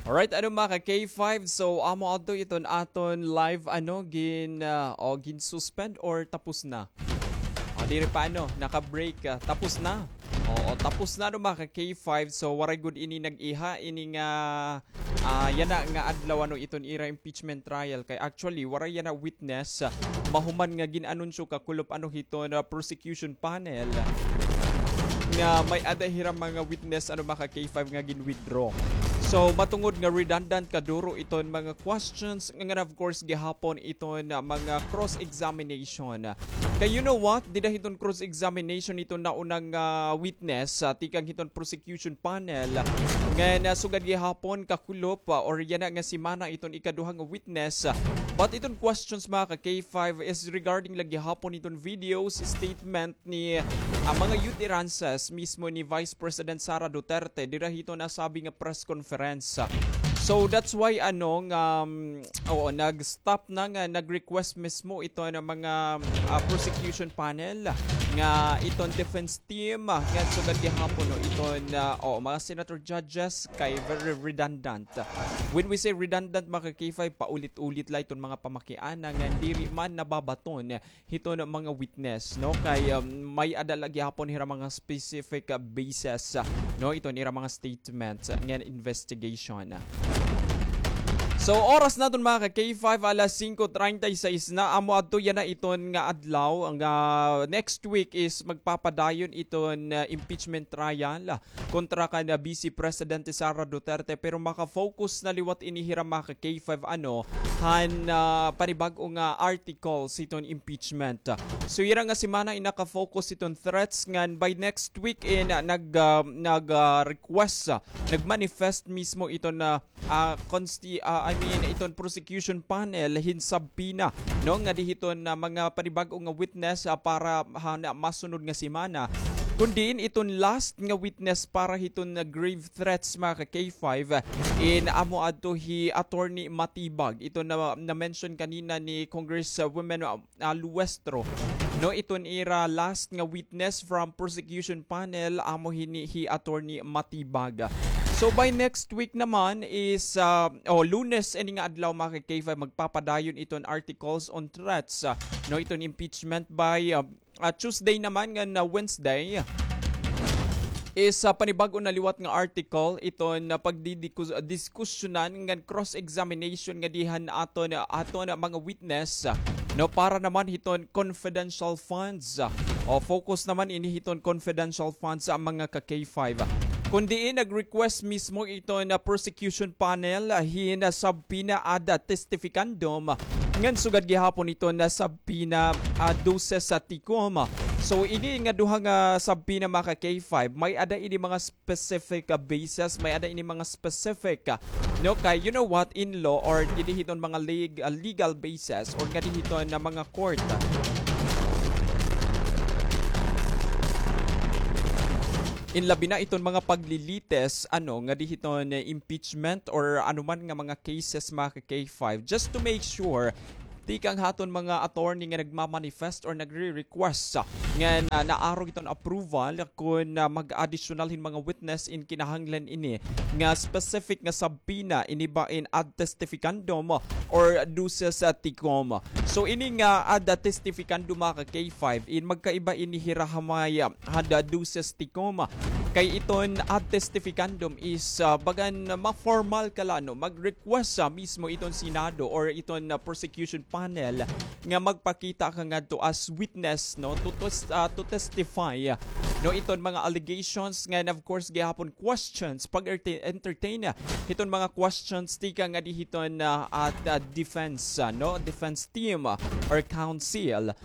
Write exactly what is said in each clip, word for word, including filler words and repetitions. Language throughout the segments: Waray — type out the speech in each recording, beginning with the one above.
Alright, ano, mga ka K five, so amo adto iton aton live, ano, gin, ah, o, gin-suspend or tapos na? O, diri pa, ano, naka-break, ah, tapos na. Oo, tapos na, no, mga ka K five. So waray gud ini nag-iha ini nga, ah, yana nga adlaw, ano, iton ira impeachment trial. Kay actually waray yana witness, ah, mahuman nga gin-anunsyo kakulop, ano, hiton, ah, prosecution panel nga may-ada hira mga witness, ano, mga ka K five, nga gin-withdraw. So matungod nga redundant kaduro iton mga questions, ngan of course gihapon iton, ah, mga cross-examination. Kay you know what? Dida hiton cross-examination iton naunang, ah, witness, ah, tikang hiton prosecution panel. Ngan, ah, sugad gihapon kakulop, ah, or yana nga semana iton ikaduha nga witness. But iton questions, mga ka K five, is regarding la gihapon iton videos, statement ni, ah, mga utterances mismo ni Vice President Sara Duterte dira hiton nasabi nga press conference. So that's why, ano, nga, um, oo, nag-stop na, nga nag-request mismo iton mga, ah, prosecution panel nga iton defense team, ah, nga sugad gihapon, no, iton, ah, oo, mga senator judges kay very redundant. When we say redundant, mga ka K five, paulit-ulit la iton mga pamakiana nga diri man nababaton hiton mga witness, no? Kay, um, may-ada la gihapon hira mga specific, ah, basis, ah, no, iton ira mga statements, ah, ngan investigation. So oras naton, mga ka K five, alas singko treinta y seis na. Amo adto yana iton nga adlaw nga next week is magpapadayon iton, ah, impeachment trial kontra kan, ah, Vice Presidente Sara Duterte, pero maka-focus na liwat ini hira, mga ka K five, ano, han, ah, panibag-o nga articles hiton impeachment. So ira nga semana in naka-focus hiton threats, ngan by next week in, ah, nag, ah, nag, ah, request, ah, nag-manifest mismo iton, ah, ah, consti-, ah, I mean, iton prosecution panel hin subpoena, no, ngadi hiton, ah, mga panibag-o nga witness, ah, para han masunod nga semana. Kun diin iton last nga witness para hiton, ah, grave threats, mga ka K five, ah, in amo adto hi Attorney Matibag. Iton na, na-mention kanina ni Congresswoman, ah, ah, Luestro, no, iton ira last nga witness from prosecution panel, amo hini hi Attorney Matibag. So by next week naman is, ah, o, Lunes ini nga adlaw, mga ka K five, magpapadayon iton articles on threats, ah, no, iton impeachment. By, ah, ah, Tuesday naman ngan, ah, Wednesday is, ah, panibag-o na liwat nga article iton, ah, pagdidikus-, ah, diskusyonan ngan cross-examination ngadi han aton, ah, aton, ah, mga witness, ah, no, para naman hiton confidential funds, ah, o focus naman ini hiton confidential funds, ah, mga ka K five. Kun diin nag-request mismo iton, ah, prosecution panel, ah, hin, ah, subpoena ad testificandum, ngan sugad gihapon iton, ah, subpoena, ah, duces tecum. So ini nga duha nga subpoena, mga ka K five, may-ada ini mga specific, ah, basis, may-ada ini mga specific, ah, no, kay you know what, in law or ngadi hiton mga leg-, ah, legal basis or ngadi hiton, ah, mga court, ah, in labi na iton mga paglilitis, ano, ngadi hiton, ah, impeachment or anuman nga mga cases, mga ka K five, just to make sure tikang haton mga attorney nga nagmamanifest or nagre-request, ah, nga na, naarog iton approval kun, ah, mag-additional hin mga witness in kinahanglan ini nga specific nga subpoena, ini ba in ad testificandum or duces tecum. So ini nga ad testificandum, mga ka K five, in magkaiba ini hira ha may, ah, han duces tecum. Kay iton ad testificandum is, ah, bagan ma-formal ka la, no, mag-request, ah, mismo iton Senado or iton, ah, prosecution panel nga magpakita ka ngadto as witness, no, to tes-, ah, to testify, no, iton mga allegations, ngan of course gihapon questions, pag-erte-, entertain, ah, hiton mga questions tikang ngadi hiton, ah, at, ah, defense, ah, no, defense team, ah, or counsel.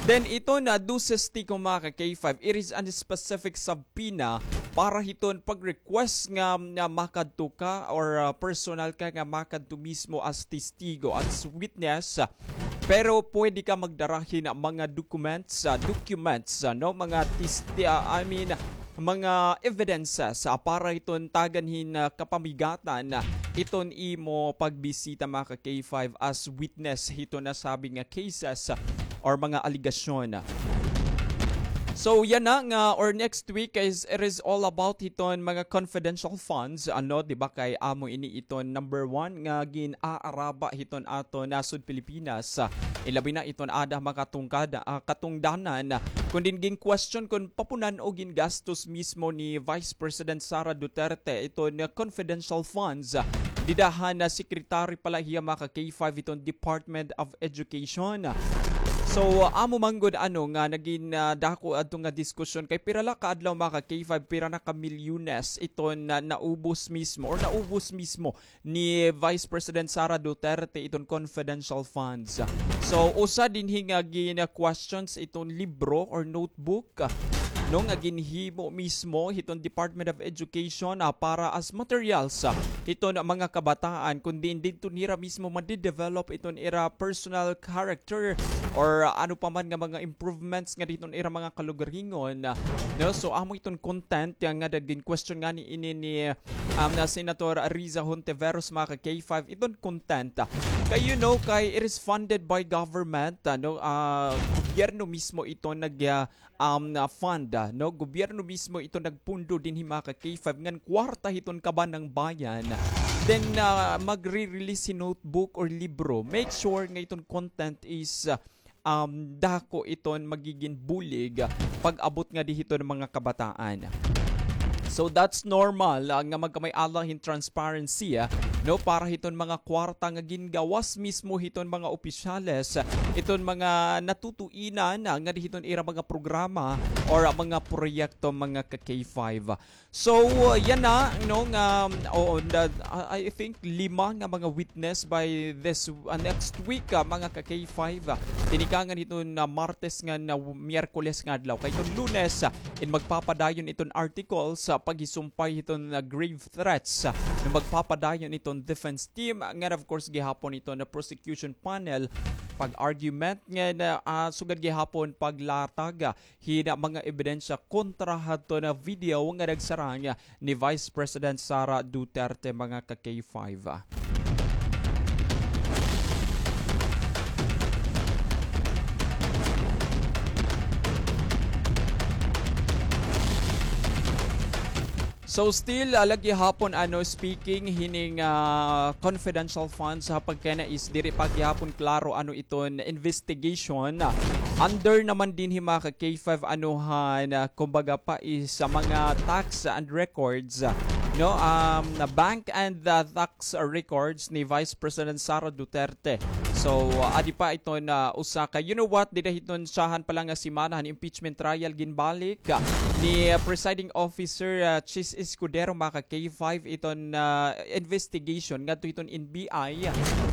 Then iton, ah, duces tecum, mga ka K five, it is a specific subpoena para hiton pag-request nga, nga makadto ka or, ah, personal ka nga makadto mismo as testigo, as witness. Pero pwede ka magdara hin mga documents, ah, documents, ah, no, mga testi-, ah, I mean, mga evidences, ah, para hiton tagan hin, ah, kapamigatan, ah, iton imo pagbisita, mga ka K five, as witness hiton nasabi nga cases, ah, or mga alegasyon. So yana nga, or next week is, it is all about hiton mga confidential funds, ano, di ba, kay amo ini iton number one nga gin-aaraba hiton aton nasod Pilipinas. Ah, ilabi na iton ada makatungkad, ah, katungdanan, kun din gin-question kun papunan o gingastos mismo ni Vice President Sara Duterte iton confidential funds. Dida han Secretary pala hiya, mga ka-K five, hiton Department of Education. So, amo man gud, ano, nga nagin, ah, dako adto nga diskusyon kay pira la ka adlaw, mga ka-K five, pira na ka milyones iton na naubos mismo or naubos mismo ni Vice President Sara Duterte iton confidential funds. So, usa dinhi nga gin-questions iton libro or notebook, no, nga ginhimo mismo hiton Department of Education, ah, para as materials, ah, hiton mga kabataan, kun diin didto nira mismo madidevelop iton ira personal character or ano pa man nga mga improvements nga diton ira mga kalugaringon, ah, no? So, amo iton content nga nagin-question ngani ini ni, um, na Senator Riza Hontiveros, mga ka-K five, iton content. Kay, you know, kay it is funded by government, ano, ah, gobyerno mismo ito nag, ah, um, ah, fund, ah, no? Gobyerno mismo ito nagpundo dinhi, mga ka-K five, ngan kwarta hiton kaban ng bayan. Then, ah, magre-release hin notebook or libro. Make sure nga iton content is, ah, um, dako iton magigin bulig, ah, pag-abot ngadi hiton mga kabataan. So that's normal, ah, nga magkamay-ala hin transparency, ah, no, para hiton mga kwarta nga gingawas mismo hiton mga opisyales, ah, iton mga natutuinan, ah, ngadi hiton ira mga programa or, ah, mga proyekto, mga ka-K five. So, uh, yana, no, nga, oo, na, I I think lima nga mga witness by this, uh, next week, ah, mga ka-K five, ah, tinikangan hiton Martes ngan Miyerkules nga adlaw. Kay iton Lunes, ah, in magpapadayon iton articles, ah, paghisumpay hiton, ah, grave threats, ah, nga magpapadayon iton defense team, ah, ngan of course gihapon iton prosecution panel, pag-argument ngan, ah, sugad gihapon paglatag, ah, hin mga ebidensya kontra hadto nga video nga nagsarang ni Vice President Sara Duterte, mga ka-K five. So still, ah, lagi hapon, ano, speaking hining, ah, confidential funds, ha, pagkana is diri pa gihapon klaro ano iton investigation. Under naman dinhi, mga ka-K five, ano han, ah, kumbaga pa is sa mga tax and records, ah, no, um, na bank and, ah, tax records ni Vice President Sara Duterte. So, ah, adi pa iton usa ka, you know what, dida hiton syahan pa la nga semana han impeachment trial ginbalik, ah, ni, ah, Presiding Officer, ah, Chiz Escudero, mga ka-K five, iton, ah, investigation ngadto hiton N B I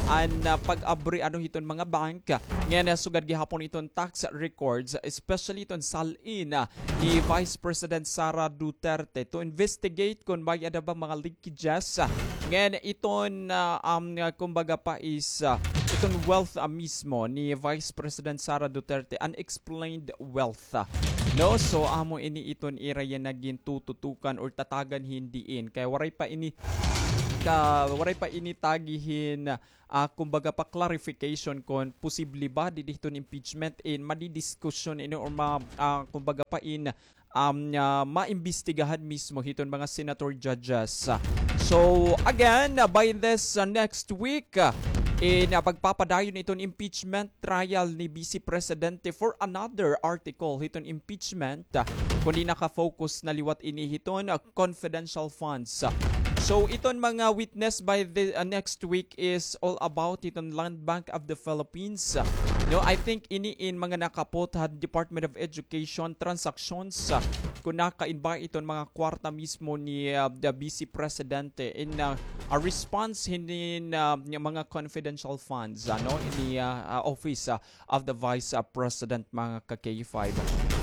an, ah, pag-abri ano hiton mga bank, ah, ngan, ah, sugad gihapon iton tax records, especially iton sal-in, ah, ni Vice President Sara Duterte to investigate kon may-ada ba mga leakages, ah, ngan iton, ah, um, ah, kumbaga pa is, ah, iton wealth, ah, mismo ni Vice President Sara Duterte, unexplained wealth, ah. No, so amo ini iton ira yana gintututukan or tatagan hin diin kay waray pa ini ka, waray pa ini tagi hin, ah, kumbaga pa clarification kon posible ba didi hiton impeachment in madidiskusyon ini or ma-, ah, kumbaga pa in, um, ah, maimbestigahan mismo hiton mga senator judges. So again, ah, by this, ah, next week, ah, in, ah, pagpapadayon iton impeachment trial ni Vice Presidente for another article hiton impeachment, ah, kundi naka-focus na liwat ini hiton, ah, confidential funds. So iton mga witness by the, ah, next week is all about iton Land Bank of the Philippines. No, I think ini in mga nakapot ha Department of Education transactions, ah, kun nakain ba iton mga kwarta mismo ni, ah, the Vice Presidente in, ah, a response hinin, ah, mga confidential funds, ano, ini, ah, ah, office, ah, of the Vice, uh, President, mga ka-K five.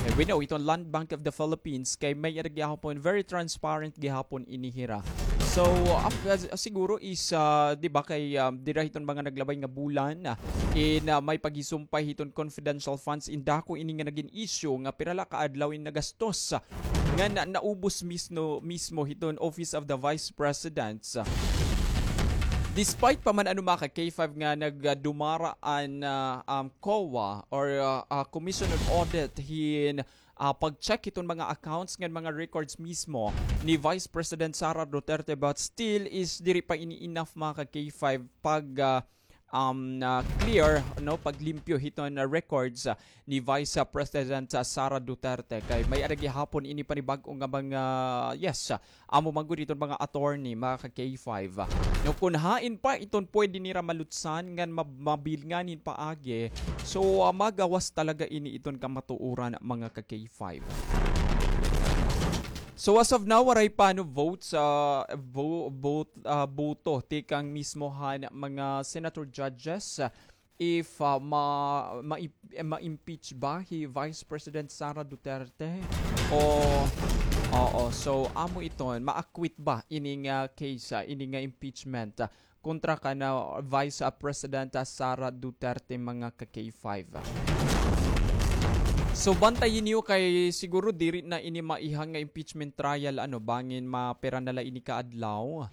Eh, we know, iton Land Bank of the Philippines, kay may-ada gihapon, very transparent gihapon ini hira. So, uh, uh, siguro is, uh, di ba, kay, um, dida hiton mga naglabay nga bulan, uh, in, uh, may paghisumpay hiton confidential funds, in dako ini nga nagin issue, nga pira la ka adlaw in nagastos, uh, nga na-, naubos mismo, mismo hiton Office of the Vice President. Despite pa man ano, mga ka-K five, nga nagdumara an, ah, um, COA or, ah, ah, Commission on Audit hin, ah, pag-check hiton mga accounts ngan mga records mismo ni Vice President Sara Duterte, but still is diri pa ini enough, mga ka-K five, pag, ah, um, ah, clear, no, paglimpyo hiton, ah, records, ah, ni Vice, ah, President, ah, Sara Duterte. Kay may-ada gihapon ini panibag-o nga mga, yes, ah, amo man gud iton mga attorney, mga ka-K five. No, kun hain pa iton pwede nira malutsan ngan mab-, mabilngan hin paagi, so, ah, magawas talaga ini iton kamatuoran, mga ka-K five. So, as of now, waray pa, no, votes, ah, vo-, vote, ah, boto tikang mismo han mga senator judges, ah, if, ah, ma-, ma-, ma-impeach ba hi Vice President Sara Duterte? O, oo, so, amo iton, ma-acquit ba ini nga case, ah, ini nga impeachment, ah, kontra kan, ah, Vice, ah, President, ah, Sara Duterte, mga ka-K five? So, bantayi niyo kay siguro diri na ini maiha nga impeachment trial, ano, bangin mapira na la ini ka adlaw.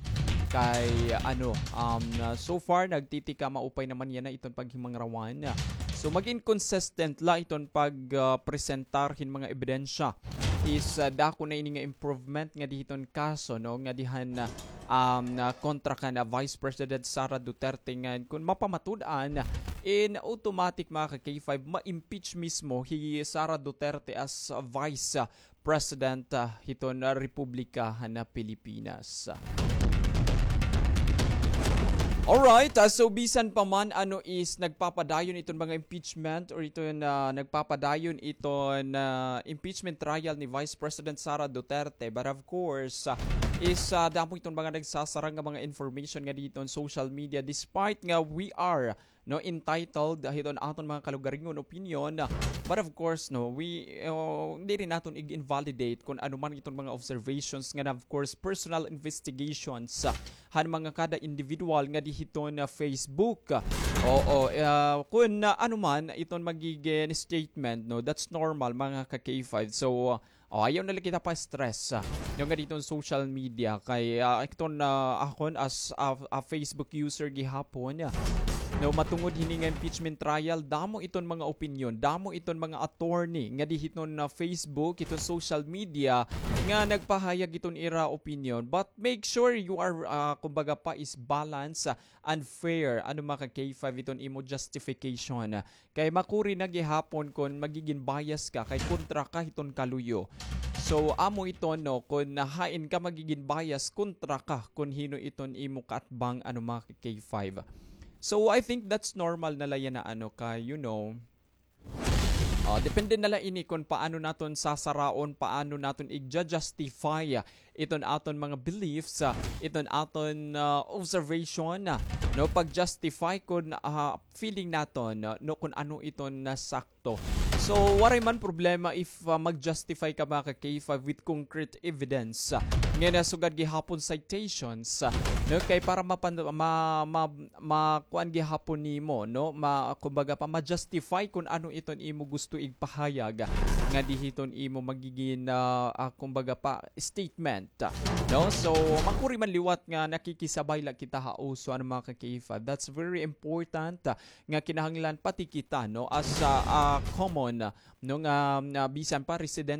Kay, ano, um, ah, so far, nagtitika maupay naman yana iton paghimangrawan. So, magin consistent la iton pag, ah, presentar hin mga ebidensya. Is, ah, dako na ini nga improvement ngadi hiton kaso, no, ngadi han, ah, um, ah, kontra kan, ah, Vice President Sara Duterte ngan kun mapamatud-an, in automatic, mga ka-K five, ma-impeach mismo hi Sara Duterte as, ah, Vice, ah, President, ah, hiton, ah, Republika han, ah, Pilipinas. Alright, ah, so bisan pa man ano is nagpapadayon iton mga impeachment or iton, ah, nagpapadayon iton, ah, impeachment trial ni Vice President Sara Duterte, but of course, ah, is, ah, damo iton mga nagsasarang nga mga information ngadi hiton social media, despite nga we are, no, entitled hiton aton mga kalugaringon opinion. But of course, no, we, uh, diri naton ig-invalidate kun ano man iton mga observations ngan, of course, personal investigations, uh, han mga kada individual ngadi hiton, uh, Facebook. Oo, uh, kun, uh, ano man iton magigin statement, no, that's normal, mga ka-K five. So, uh, o, ayaw na la kita pa-stress, ah, ngadi hiton social media kay, ah, iton, ah, akon as a, a Facebook user gihapon, ah, no, matungod hini nga impeachment trial, damo iton mga opinyon, damo iton mga attorney ngadi hiton, ah, Facebook, iton social media nga nagpahayag iton ira opinyon. But make sure you are, ah, kumbaga pa, is balance, ah, and fair, ano, mga ka-K five, iton imo justification. Kay makuri na gihapon kun magigin bias ka kay kontra ka hiton kaluyo. So, amo iton, no, kun hain ka magigin bias, kontra ka kun hin-o iton imo kaatbang, ano, mga ka-K five. So, I think that's normal na la yana, ano, kay, you know, ah, depende na la ini kun paano naton sasaraon, paano naton i-justify iton aton mga beliefs, ah, iton aton, ah, observation, ah, no, pag-justify kun, ah, feeling naton, ah, no, kun ano iton, ah, sakto. So, waray man problema if, ah, mag-justify ka, mga ka-K five, with concrete evidence, ah, nga nasugad gihapon citations, ah, no, kay para mapan-, ma-, ma-, makuan gihapon nimo, no, ma-, kumbaga pa, ma-justify kun ano iton imo gusto igpahayag ngadi hiton imo magigin, ah, ah, kumbaga pa, statement, no? So, makuri man liwat nga nakikisabay la kita ha uso, ano, mga ka-K five. That's very important, ah, nga kinahanglan pati kita, no, as, ah, ah, common, no, nga, nga bisan pa resident